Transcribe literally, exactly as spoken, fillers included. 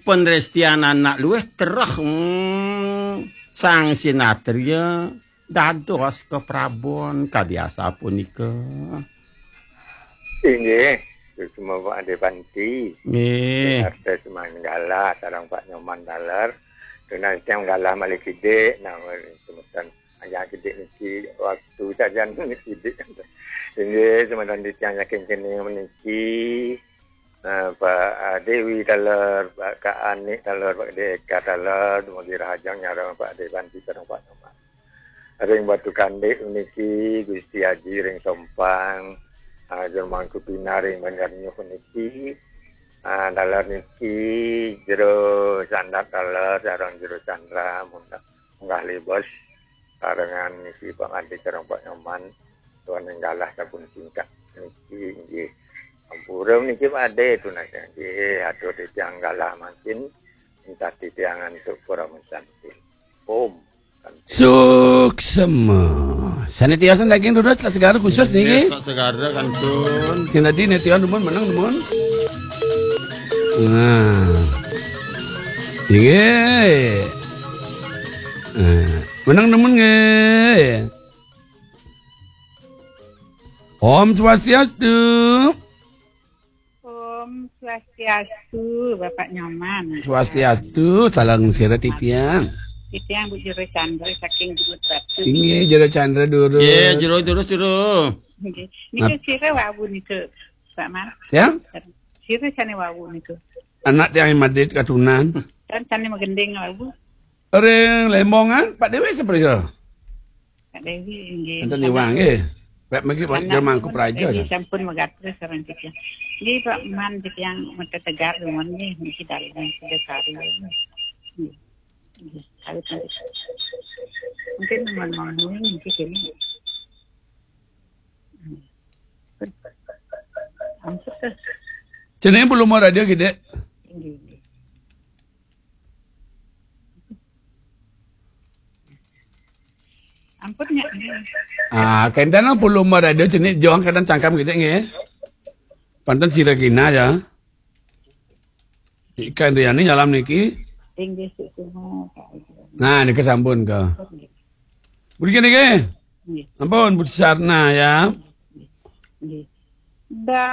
Penrestian anak luwih tereh, hmm, Sang Sinatria dados kaprabon kadi asapunika. Inggih, suksma Pak Ade Panti. Nggih. Arta semanggala sareng Pak Nyoman taler. Tunas tiang galah malih kidik, nah, semeton aja kidik niki waktu sajan kidik. Inggih, semeton titiang saking kene meniki. Nah, Pak, ah, Dewi taler, Pak, Kak Anik taler, Pak Deka taler, dumugi rahajeng nyareng Pak Dewanti sareng Pak Nyoman. Ring Batu Kandik niki Gusti Aji ring Sompang, ah, Jero Mangku Pina ring Banjar Nyuh niki, ah, taler niki Jero Sandat taler sareng Jero Chandra munggah, munggah libos sarengan niki Pak Ade sareng Pak Nyoman. Tuan ing galah sampun singkat niki inggih. Ampura niki Pak Ade tunas nggih. Atur titiang galah mangkin, entah titiang antuk pura mensantin. Om. Suksma. Sane tiasan daging durus, segara khusus niki. Nggih, segara kantun. Sing tadi ne tiasan dumun menang dumun. Nah. Nggih. Nah, menang dumun nggih. Om Swastiastu. Om Swastiastu, Bapak Nyoman. Swastiastu, salam sira titiang. Titiang Bu Jero Chandra saking Jero Batu. Inggih, Jero Chandra durus. Nggih, Jero, durus, Jero. Nggih. Nika sira wau nika, Pak Man. Ya? Sira sane wau nika. Anak tiang madit katunan. Kan sane magending wau. Ring Lembongan, Pak Dewi seperti itu. Pak Dewi, nggih. Enten iwang, nggih. Pak mriki, Pak, Jero Mangku Praja, nggih, kan? Sampun megatus sareng titiang. Nggih, Pak Man, titiang mata tegar, nuwun, nggih, niki dalem sudah sari. Nggih. Nggih, kawit, kawit. Mungkin nuwun, nuwun, nggih, kene. Hmm. Ampun, Gus. Jenenge volume radio gedhe. Nggih, nggih. Ampun, Nyak. Ah, kenten volume radio jenik jong kenten cangkem gedhe nggih. Panten sira kina ya. Ika Indriani nyalam niki. Inggih, suksma, Pak. Nah, niki sampun ke. Nggih. Mriki niki. Nggih. Ampun, Bu Sarna ya. Nggih.